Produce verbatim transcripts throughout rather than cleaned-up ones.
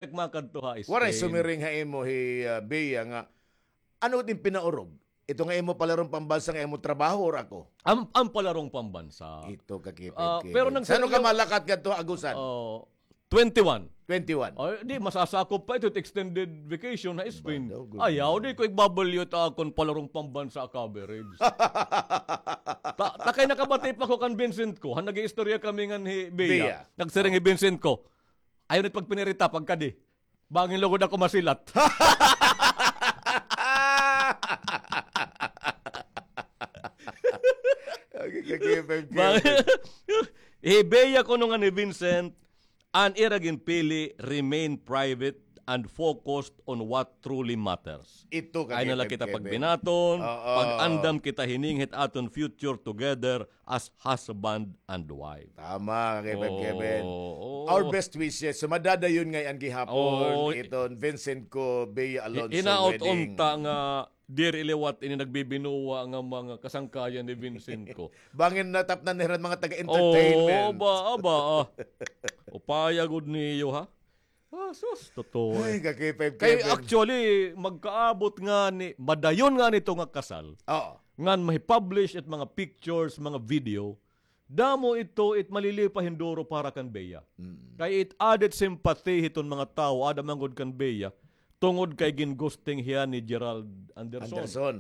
Nagmakadto ha Spain. Waray sumiring ha imo hi, ah, Bea nga, ano it pinaurog? Ito nga imo palarong pambansa nga imo trabaho or ako? Am, am palarong pambansa. Ito ka, Kevin, Ah, Kevin. Pero nag- San-o ka malakat ngadto ha Agusan? Oh, twenty-one. Twenty-one. Oh, di, masasakop pa ito, extended vacation ha Spain. Ba daw, good. Ayaw, di ko igbabalyo it akon palarong pambansa coverage. Ta, ta kay nakabati pa ko kan Vincent ko, ha, nag-iistorya kami ngan hi Bea. Bea. Nagsiring hi Vincent ko, "Ayaw na it pagpinirita, pagkadi. Bangin lugod ako masilat." Okay, okay, okay, okay. Bang-, hi Bea kuno ngan hi Vincent, an ira ginpili, remain private and focused on what truly matters. Ito ka, Kevin, Kevin. Ayaw na la kita pagbinaton, Oo. pag-andam kita hining hit aton future together as husband and wife. Tama, Kevin, Kevin. Oo. Our best wishes. So, madadayon ngay-an gihapon Oo. iton Vincent ko, Bea Alonso wedding. Hinaot unta nga diri liwat ini nagbibinuwa nga mga kasangkayan ni Vincent ko. Bangin natapnan nira mga taga-entertainment. Oo, aba, aba, ah. Upaya gud niyo, ha? Ah, sus, totoo, eh. Ay, ka-K five Kay Kevin. Actually, magkaabot ngani, madayon ngani ito nga kasal. Oo. Ngan mahi-publish it mga pictures, mga video. Damo ito it malilipayon duro para kan Bea. Mm. Kay it added sympathy hiton mga tawo, aada man gud kan Bea, tungod kay gin-ghosting hiya ni Gerald Anderson. Anderson.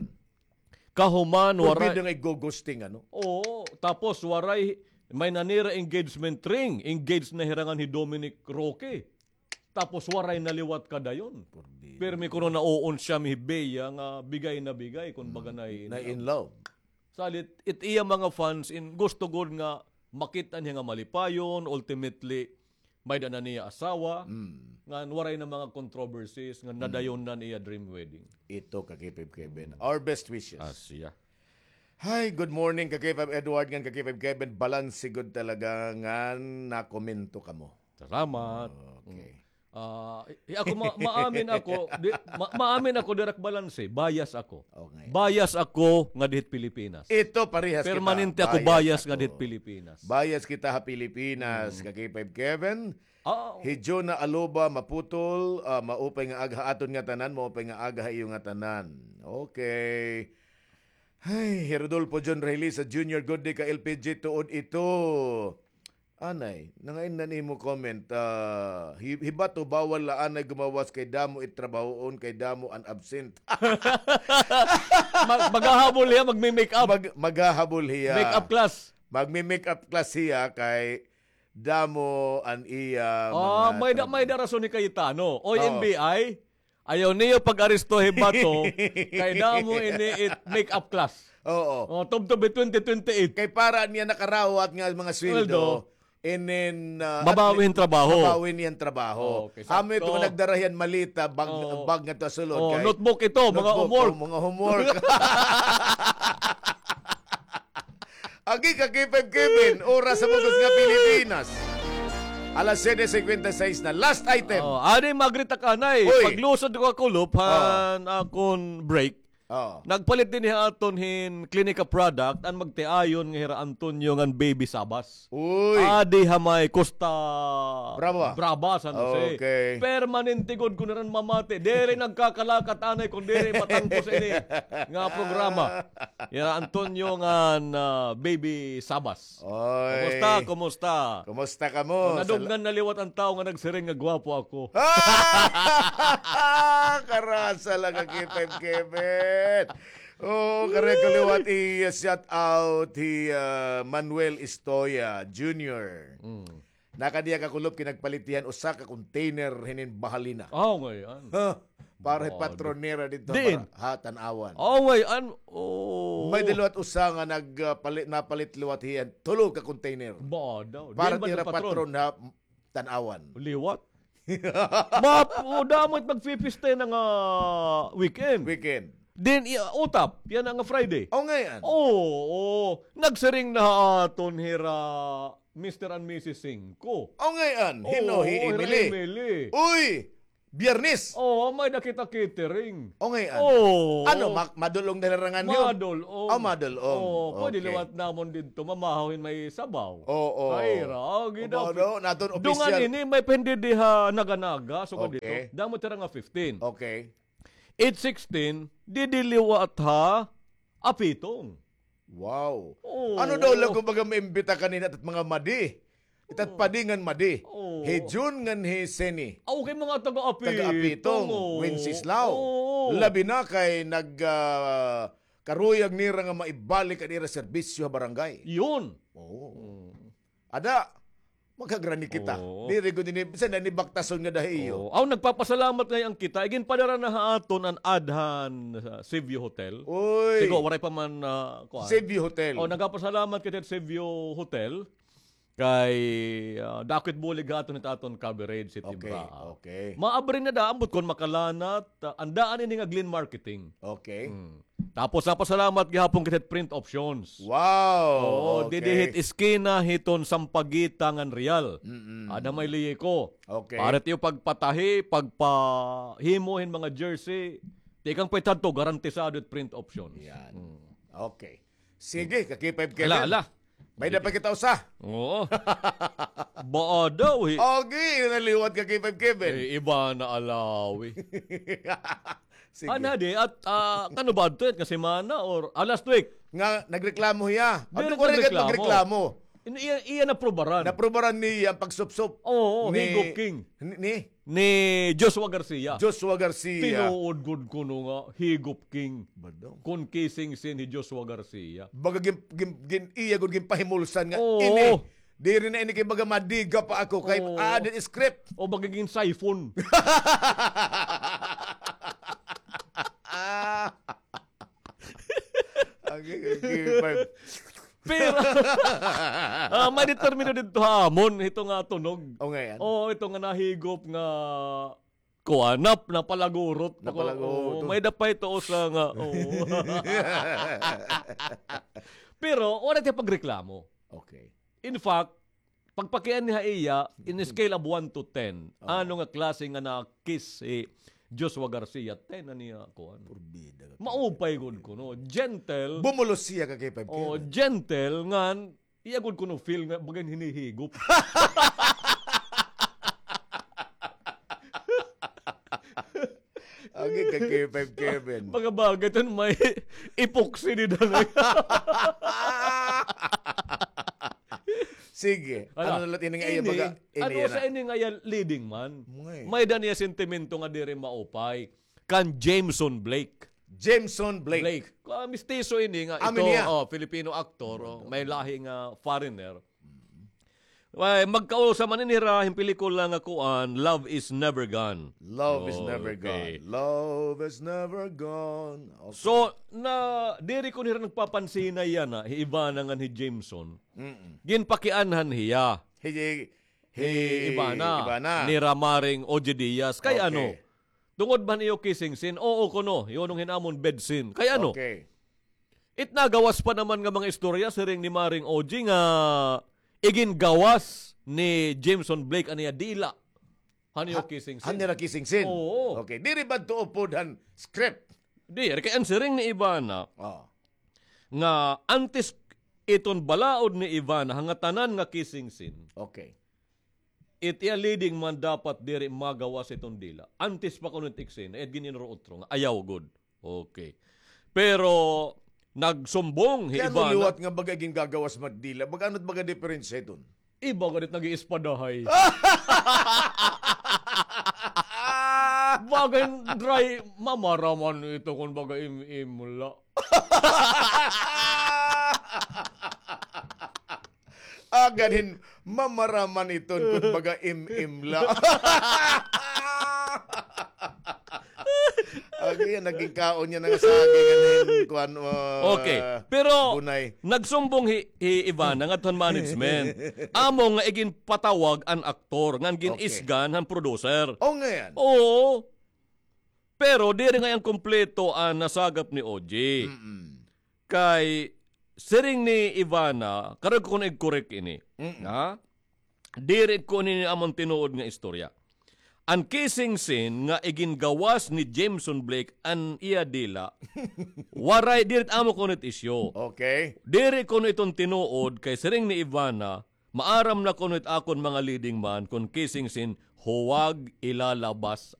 Kahuman, waray. Forbid nga i-ghosting, ano? Oo, tapos waray, may nanira engagement ring, engaged na hira ngan hi Dominic Roque. Tapos waray na liwat kadayon. Forbid. Pirmi kuno nauon siya, mi hi Bea nga bigay na bigay, kun baga na in love. Salit, it iya mga fans in gusto gud nga makit-an hiya nga malipayon, ultimately, may-ada na niya asawa, Mm. ngan waray na mga controversies, ngan Mm. nadayon na niya dream wedding. Ito, ka-K five Kevin. Our best wishes. Ah, siya. Hi, good morning, ka-K five Edward, ngan ka-K five Kevin. Balanse gud talaga ngan nakomento kamo. Salamat. Okay. Mm. Ah, i-, ako ma-, maamin ako, di, ma-, maamin ako, diri ak balanse, bias ako. Okay. Bias ako ngadi hit Pilipinas. Ito, parehas kita. Permanente ako bias ngadi hit Pilipinas. Bias kita ha Pilipinas, Mm. ka-K five Kevin. Ah, oo. Hi Jonah Aloba Maputol, ah, maupay nga aga ha aton ngatanan, maupay nga aga ha iyo ngatanan. Okay. Ay, hi Rodolfo John Rehilisa Junior, good day ka L P G, tuod ito. Anay, nangain na nimo comment, ah, hi-, hi Bato, bawal la anay gumawas kay damo it trabahoon, kay damo an absent. Mag-, maghahabol hiya, magmi-make up. Mag-, maghahabol hiya. Make up class. Magmi-make up class hiya kay damo an iya Ah, mga may da-, trabaho. May da rason hi Cayetano. Oy, Oo. N B I, ayaw niyo pag-aresto hi Bato, kay damo ini it make-up class. Oo. Oh, tubtob hi twenty twenty-eight. Kay para niya nakarawat nga mga sweldo, Sweldo. and then, ah, Mabawi at hin trabaho. Mabawi niya an trabaho. Okay, Amo ito sakto. Nga nagdara hiya hin maleta, bag, Oo. bag ngadto ha sulod Oh, kay notebook ito, mga notebook, homework. Oh, mga homework. Agi ka, K five Kevin, oras sa bug-os nga Pilipinas. Alas siyete cincuenta y seis na. Last item. Oh, adi, mag-greet ak anay. Uy. Paglusod ko ha kulop, Oh. han akon break. Oh. Nagpalit dinhi ha aton hin Clinica product, an magtiayon nga hira Antonio ngan Baby Sabas. Uy. Adi ha may Costa Brava. Brava, San Jose. Okay. Permanente gud kun hiran mamati. Diri nagkakalakat anay kun diri matangkos ini nga programa. Hira Antonio ngan, ah, Baby Sabas. Oy. Kumusta? Kumusta? Kumusta kamo? Oh, nadunggan na liwat an tawo nga nagsiring nga gwapo ako. Karasa la ka, K five Kevin. Oh, kare ko liwat i-shout out hi, ah, Manuel Estoya Junior. Mm. Nakadi ha kulop kay nagpalit hiya hin usa ka container hinin bahalina. Oh, ngay-an. Ha? Para Oh, patron nira didto diin? Para, ha, Tanauan. Oh, ngay-an. Oh. May-ada liwat usa nga nag, ah, pali-, napalit liwat hiya hin tulo ka container. Ba daw. Para diin ba nira nagpatron? Patron ha Tanauan. Liwat? Map, oh, damo it magpipista yana nga weekend. Weekend. Then, i-, utap, yana nga Friday. Oh, ngay-an. Oo, oo. Nagsiring na ha aton hira Mister and Missus Singko. Oh, ngay-an. Hin-o, hi Emily. Uy! Biyernes. Oo, may-ada kita catering. O, ngay-an. Oo. Ano, ma-, madul-ong na larangan niyo? Madul-ong. Ah, madul-ong. Oo, pwede liwat namon didto, mamahaw hin may sabaw. Oo. Kaira, o, gid. Dungan ini, may pa hin didi ha Naga-Naga, sugad didto. Damo tira nga fifteen. Okay. Eight sixteen, didi liwat ha Apitong. Wow. Oo. Ano daw la kon baga maimbita kanina it at mga madi? It at padi ngan madi. Oo. Hi Jun ngan hi Seni. Ah, okay, mga taga-Apitong. Taga-Apitong, oo. Wenceslao. Oo. Labi na kay nag, ah, karuyag nira nga maibalik an ira serbisyo ha barangay. Yun. Oo. Hmm. Ada, magkagrani kita. Oo. Diri gud ini, bisan na ini baktason nga dahi iyo. Oo. Aw, nagpapasalamat ngay-an kita. Iginpadara na ha aton an ad han, ah, Seaview Hotel. Uy. Sigo, waray pa man, ah, kuan. Seaview Hotel. O, nagpapasalamat kita ha Seaview Hotel. Kay, ah, dako it bulig ha aton it aton coverage, it Ibraa. Okay, okay. Maabri na da, ambot kon makalanat, ah, an daan ini nga Glenn Marketing. Okay. Hmm. Tapos, napasalamat gihapon kita hit Print Options. Wow! Oo, okay. Didi hit eskina hiton Sampaguita ngan Real. Mm-mm. Ada may liye ko. Okay. Para it iyo pagpatahi, pagpahimo hin mga jersey, tikang pa it hadto, garantisado it Print Options. Yan. Mm. Okay. Sige, ka K five Kevin. Ala, ala. May-ada pa kita usa. Oo. Baa daw, eh. Okay, naliwat ka K five Kevin. Eh, iba na alawi. Sige. Ana di, at, ah, kano ba adto nga semana or, ah, last week? Nga nagreklamo hiya. Diri nagreklamo. Nagreklamo. In-, iya, iya naprubaran. Naprubaran niya ang pagsupsop. Oo, ni, Higop King. Ni, ni? Ni Joshua Garcia. Joshua Garcia. Tinuod gud kuno nga Higop King. Ba daw? Kon kissing scene hi Joshua Garcia. Baga gin, gin, gin, iya gud ginpahimulsan nga, oo, ini. Diri na ini kay baga madiga pa ako kay, oo, add it script. O baga gin siphon. Ah. Okay, okay, fine. Pero, ah, may determino didto ha amon, ito nga tunog. O, ngay-an. Oo, ito nga nahigop nga kuan, nap-, napalagurot. Napalagurot. Oo, may-ada pa ito usa nga, oo. Pero, wala tiya pagreklamo. Okay. In fact, pagpakian ni ha iya, in a scale of one to ten, oh, ano nga klase nga na-kiss si Joshua Garcia? Ten na niya, kuan. Purbida ka. Maupay gud kuno. Gentle. Bumulos siya ka K five K. Oh, gentle, ngan, iya gud kuno feel nga, baga hin hinihigop. Agi ka K five Kevin. Mga bagay ton may epoxy ni Danay. Sige. Ano na la ini nga iya baga, ano sa ini nga iya leading man? May-ada niya sentimento nga diri maupay. Kan Jameson Blake. Jameson Blake. Blake. Ah, mistiso ini nga ito, oh, Filipino actor, oh, may lahi nga foreigner. Ay, magkausa man ini hira hin pelikula nga kuan, Love is Never Gone. Love is Never Gone. Love is Never Gone. Okay. So, na, diri ko nira nagpapansinay yana, hi Ivana ngan hi Jameson. Mm-mm. Ginpakianhan hiya. Hi, hi, hi Ivana, Ivana. Ni Ramaring Ogie Diaz. Kay ano? Okay. Tungod ba han iyo kissing scene? Oo kuno, yunong hin amon bed scene. Kay ano? Okay. It nagawas pa naman nga mga istorya, siring ni Maring Ogie nga igingawas ni Jameson Blake an iya dila. Han iyo kissing scene. Han ira kissing scene? Oo. Okay. Diri ba adto upod han script? Diri, kay an siring ni Ivana, oh, nga antes iton balaod ni Ivana, ha ngatanan nga kissing scene. Okay. It iya leading man dapat diri magawas iton dila. Antes pa kuno it eksena, it gin-inutro-utro nga ayaw gud. Okay. Pero nagsumbong hi Ivana. Kay ano liwat nga baga gingagawas man it dila? Baga ano it baga diperensya iton? Iba gad it nag-iispadahay. Baga hin dry, mamaraman ito kon baga im-imla. Agad hin mamaraman iton kon baga im-imla. Agi, naging kaon niya nga saging, ano yun, kuan, uh, okay. Pero, bunay. Nagsumbong hi, hi Ivana ngadto han management. Amo nga iginpatawag an aktor, ngan gin-isgan han producer. Oh, ngay-an. Oo. Pero diri ngay-an kompleto an nasagap ni Ogie. Mm-mm. Kay siring ni Ivana, karuyag ko kuno i-correct ini. Mm-mm. Ha? Diri ko ini amon tinuod nga istorya. an kissing scene nga igingawas ni Jameson Blake an iya dila, waray, diri it amo kuno it isyu. Okay. Diri kuno iton tinuod kay siring ni Ivana, maaram na kuno it akon mga leading man kon kissing scene, huwag ilalabas